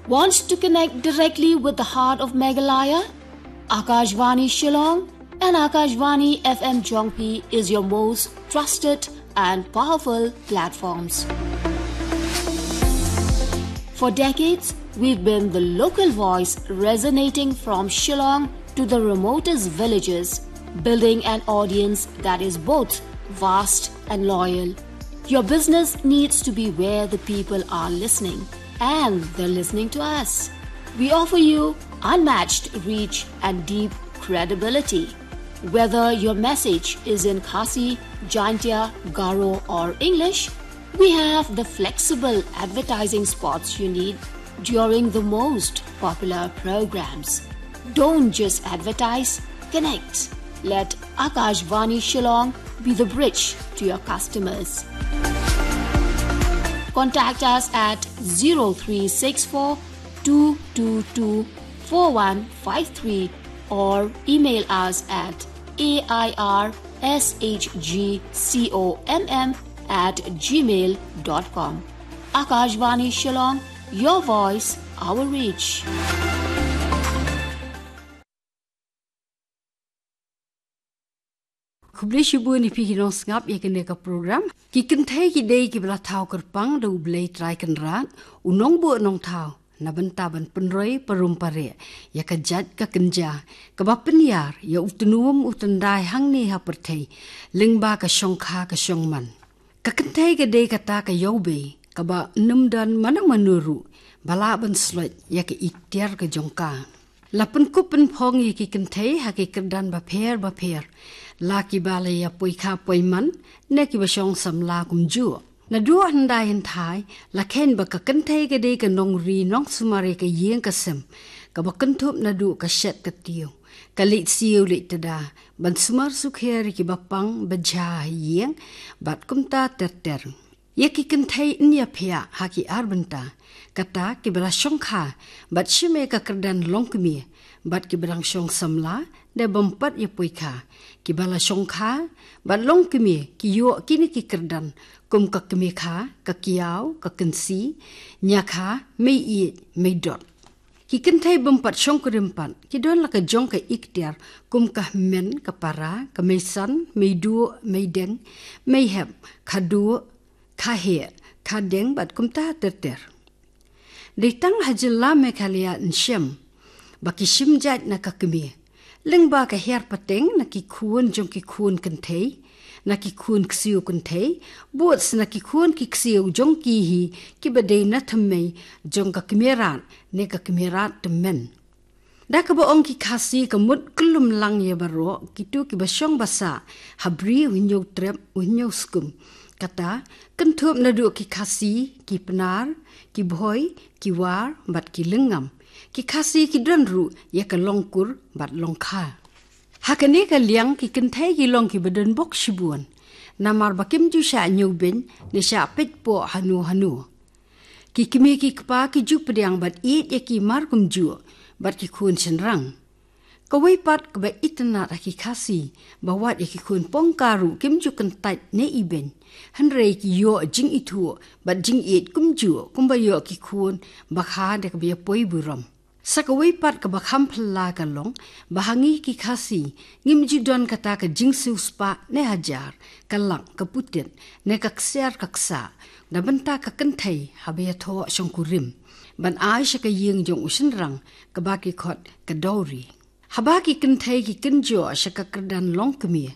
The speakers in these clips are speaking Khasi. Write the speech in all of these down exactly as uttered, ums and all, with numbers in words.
Want to connect directly with the heart of Meghalaya? Akashvani Shillong and Akashvani F M Jongpi is your most trusted and powerful platforms. For decades, we've been the local voice resonating from Shillong to the remotest villages, building an audience that is both vast and loyal. Your business needs to be where the people are listening, and they're listening to us. We offer you unmatched reach and deep credibility. Whether your message is in Khasi, Jaintia, Garo, or English, we have the flexible advertising spots you need during the most popular programs. Don't just advertise, connect. Let Akashvani Shillong be the bridge to your customers. Contact us at zero three six four two two two four one five three or email us at A I R S H G C O M M at gmail dot com. Akashvani Shillong, your voice, our reach. Khublei shibun ïa phi ki nongsngap ïa kane ka program. Ki kynthei ki dei kiba la thaw kyrpang da U Blei Trai Kynrad, U Nongbuh Nongthaw, na bynta ban pynroi parum pareh ïa ka jait ka kynja kaba pynïar ïa u tnum u tyndai hangne ha pyrthei, lyngba ka shongkha ka shongman. Ka kynthei ka dei kata ka ïawbei kaba ym don mano mano ruh ba lah ban sloit ïa ka iktiar ka jong ka. La pynkup pynphong ïa ki kynthei ha ki kyrdan bapher bapher, la kiba la ïa poikha poiman ne kiba shong samla kumjuh. Naduh hyndai hynthai la kheiñ ba ka kynthei ka dei ka nongri nongsumar ïa ka ïing ka sem, kaba kynthup naduh ka shet ka tiew, ka leit siew leit tda, ban sumar sukher ïa kiba pang ba jha ha ïing, bad kumta ter ter. Ïa ki kynthei yn ïaphiah ha ki ar bynta, kata kiba la shongkha bad shim ïa ka kyrdan longkmie, bad kiba dang shong samla da bym pat ïa poikha. Kiba la shongkha bad longkmie ki ïoh kine ki kyrdan kum ka kmie kha, ka kiaw, ka kynsi, ñiakha, mei ïeit, mei dot. Ki kynthei bym pat shongkurim pat ki don la ka jong ka iktiar kum ka hynmen, ka para, ka meisan, mei duh, mei deng, mei hep, kha duh, kha heh, kha deng bad kumta ter ter. Dei tang ha jylla Meghalaya yn shem ba ki shim jait na ka kmie, lyngba ka hiar pateng na ki khun jong ki khun kynthei, na ki khun ksiew kynthei, bad na ki khun ki ksiew jong ki hi kiba dei na thymmei jong ka kmie rat ne ka kmie rat tymmen. Da kaba ong ki Khasi ka mut kyllum lang ïa baroh kito kiba shong ba sah ha bri u hynñiew trep u hynñiew skum. Kata kynthup naduh ki Khasi, ki Pnar, ki Bhoi, ki War bad ki Lyngngam. Ki Khasi ki don ruh ïa ka longkur bad longkha. Ha kane ka liang ki kynthei ki long kiba don bok shibun, namar ba kim ju shah ñiewbeiñ ne shah peit poh hano hano. Ki kmie ki kpa ki ju pdiang bad ïeit ïa ki mar kumjuh bad ki khun shynrang. Kawei pat kaba itynnad ha ki Khasi ba wat ïa ki khun pongka ruh kim ju kyntait ne ibeiñ, hynrei ki ïoh jingithuh bad jingïeit kumjuh kumba ïoh ki khun ba kha da kaba ïa poi burom. Sa kawei pat kaba kham phylla ka long ba ha ngi ki Khasi ngim ju don kata ka jingsiewspah ne hajar, ka lak, ka putit ne ka ksiar ka ksah na bynta ka kynthei haba ïathoh shongkurim ban ai sha ka ïing jong u shynrang, kaba ki khot ka dowry. Haba ki kynthei ki kynjoh sha ka kyrdan longkmie,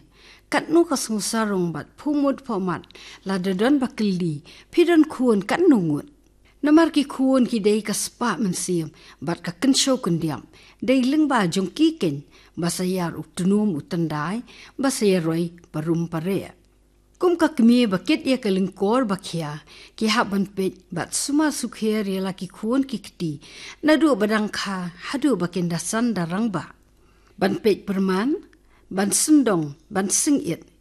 katno ka sngewsarong bad phuh mut phuh mat lada don ba kylli, phi don khun katno ngut? Namar ki khun ki dei ka spah mynsiem bad ka kynshew kyndiap, dei lyngba jong ki keiñ ba sa ïar u tnum u tyndai, ba sa ïaroi parum pareh. Kum ka kmie ba kit ïa ka lyngkor ba khia, ki hap ban peit bad sumar sukher ïa la ki khun ki kti, naduh ba dang kha haduh ba kin da san da rangbah. Ban peit pyrman, ban syndong, ban sngewsih,